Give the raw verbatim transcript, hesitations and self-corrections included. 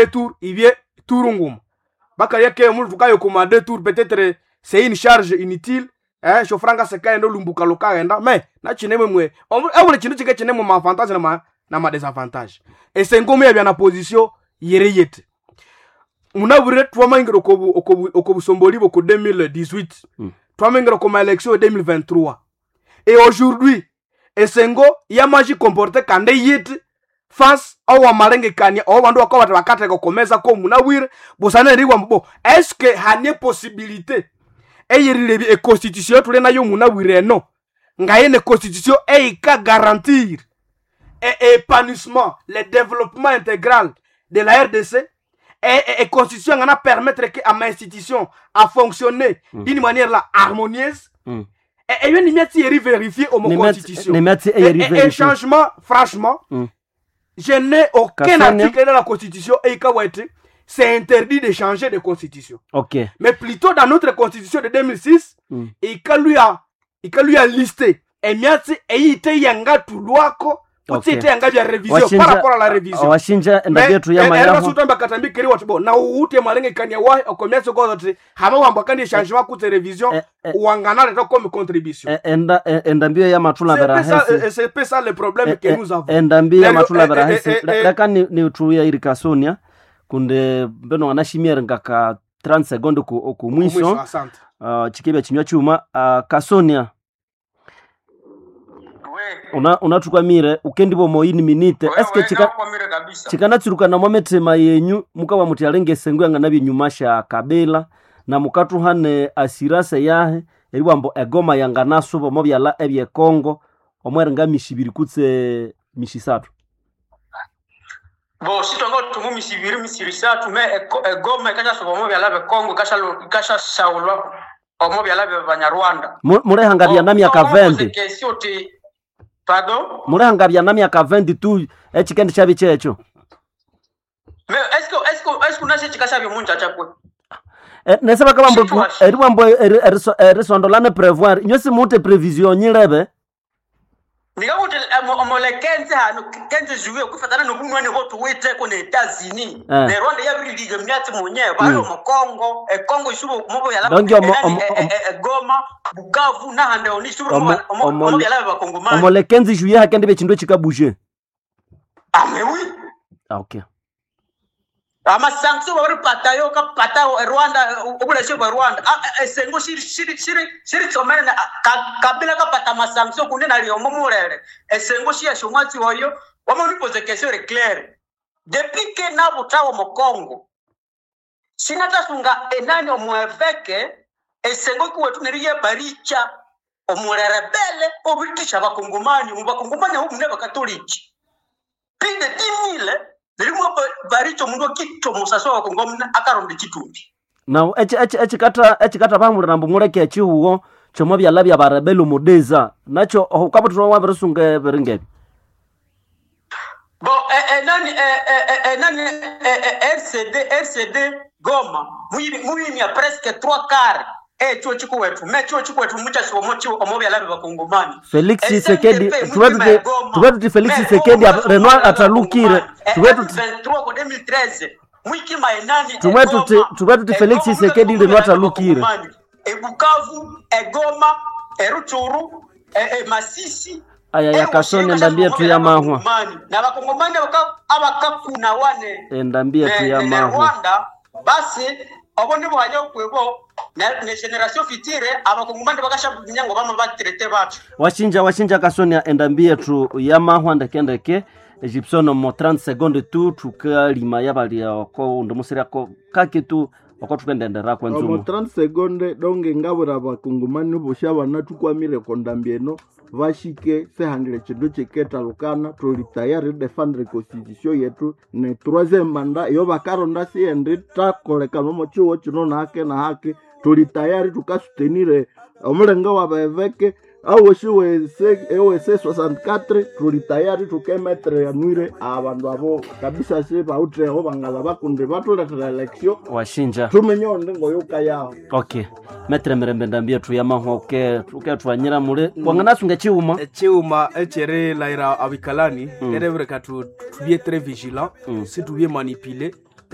Tour ibye tour nguma bakalya ke omundu tukayo kuma deux tours, peut-être c'est une charge inutile, eh shofranga sekaenda olumbuka lukaghenda. Mais nachinemwe mwe ebuli chindu chike chinemo ma avantage na ma na ma désavantage. Esengo yabya na position yere yete munabwire twamaingira okobu okobu okobusomboli boko deux mille dix-huit, Mm. twamaingira koma élection deux mille vingt-trois et aujourd'hui esengo yamaji comporte kande yiti face awamalengekania owo bandu bakabata bakateka komeza ko munabwire busana eriwa mbo est-ce hanie possibilité eyerirebya econstitution tuli nayo munabwire eno ngayene constitution eyika garantir et épanouissement, le développement intégral de la R D C et, et, et constitution ngana permettre que à ma institution à fonctionner Mm. d'une manière là harmonieuse Mm. et et ni miati eri vérifier au Ni miati- constitution ni miati et, et, eyeri et vérifier. changement, franchement, Mm. je n'ai aucun Kassonia. article dans la constitution et c'est interdit de changer de constitution, ok mais plutôt dans notre constitution de deux mille six, Mm. ikalu ya ikalu ya listé emiatsi eyite yangatulwako Okay. kutsi ite yanga bya révision par rapport à la révision. Washinja endabia yetu ya mayaho. Erasutamba katambi keri wati bo na uute malengekania wahi okomyatsi kozoti hama wamba kandi changement kutse révision Eh, eh. wanganaleta comme contribution. E- enda e- endambio ya matula C'est un peu ça, berahesi. eh, c'est un peu ça le problème que nous avons. Endambi ya Neryo, matula eh, berahesi. eh, eh, eh, Leka ni ni iri Kasonia kunde mbeno anashimiere ngaka trente seconde ku ku mwiso. Mwisho, asante. uh, chikebya chinywa chuma. uh, Kasonia, una unatukwamire ukendibo moyini minite eske chika chika kabisa. chikanatsurukana mwa methema yenyu mukawa muti alenge esengo yanga nabyenyuma sha Kabila na mukatuhane asirase yahe eriwambo egoma yanganasuba omo byala ebyekongo omweringa mishibiri kutse mishisatu. Bo sitonga tumu misibiri misiri satu me eko- egoma ikashasuba omo byala bekongo ikashashaulwa omo byala bya banyarwanda. Mu- mulehanga bya na myaka makumi abiri. Question ti pardon. Mulehanga bya na myaka makumi abiri tu ekikendi kyabi kyekyo. Mais est-ce que est-ce que est-ce que unashe chikashabye munja chakwe? Eh, nese bakabambo Situation. eriwambo erisondolane prévoir inyo simuute prévision nyilebe. Ndikakuti omole kenze hano kenze juye kufatana nobunwani botuwiteko ne États-Unis Eh. ne Rwanda yabirilize myatsi munye bali Mm. omu Congo ekongo isubo omo byala Donc, omo- enani, omo- e- e- e- e- Goma, Bukavu nahande oni isubo Omo- omo omo- omo byala bakongomani. Omole quinze juillet hakende bekindu ekikabuje. Ah mais oui. Ah, okay. Ama sanction babiri patayo ka patayo e Rwanda obuleshe bwa Rwanda. Ah, eh, esengo shiri shiri shiri shiri tsomene na- ka- Kabila kapata ma sanction kunde nali omo mulele esengo shi yashomwatsi oyo wamonipoze question ri claire depuis que nabutawo mu Congo sinatasunga enani omueveke esengo kiwetu neriye baricha omulerebele obitisha bakongomani mu bakongomani abo mune bakatoliki plus de dix mille nerimwe baricha omundu akitwa omusasi wa bakongomani akaronda ekitumbi. Now ekikata ekikata bamulira mbu muleke ekihugo kyomo byala bya barebeli omudeza nakyo okabuthira wabirisunga ebiringa ebyo. Bon, eh, eh, nani eh, eh, eh, eh, nani eh, eh, R C D R C D Goma muyimya presque trois quarts echuo chikuwetu me chuo chikuwetu muchasiwa omo byala bya bakongomani. Felix Tshisekedi tuve tuti tuve tuti Felix Tshisekedi Renoir atalukire tuve tuti vingt-trois ko deux mille treize mwikima enani Tumwe tuti- tuve tuti Felix Tshisekedi Renoir atalukire. Ebukavu, Egoma, Eruchuru, e, e, Masisi. Aya ya Kasoni endambie tu ya mahwa. Na bakongomani abaka- abakakuna wane Endambie tu ne, ya ne, ne mahwa. Rwanda basi obo nibo hanya okwebo ne, ne generation future abakongomani bakasha nyango bama batraite bacu. Washinja washinja Kasonia endambie tu ya mahwa ndekendeke Egyptian mo trente seconde tu tukalima yabalia oko undimusirako kake tu oko tukendendera Omo kwenzumu. trente seconde donge ngabura bakungumani bosha bana tukwamire kondambi eno bashike sehandile chindu chiketalukana tuli tayari defendre constitution yetu ne troisième mandat iyo bakaronda siendi takolekana omo chiwo chino nahake na hake tuli tayari tukasutenire omulenga wa beveke awoshi wese ewese sesenta e quatro tuli tayari tukemetre yanwire abandu abo kabisa si bauteho bangala bakundi batuletera election. Washinja. Tumenye onde ngoyuka yaho. Okay, metre mirembe ndambie tu ya mahwa uke uketwanyira mule wanganasunga chiuma. Echiuma echerilaira abikalani Mm. erebereka tu tubie très vigilant Mm. si tubie manipulé.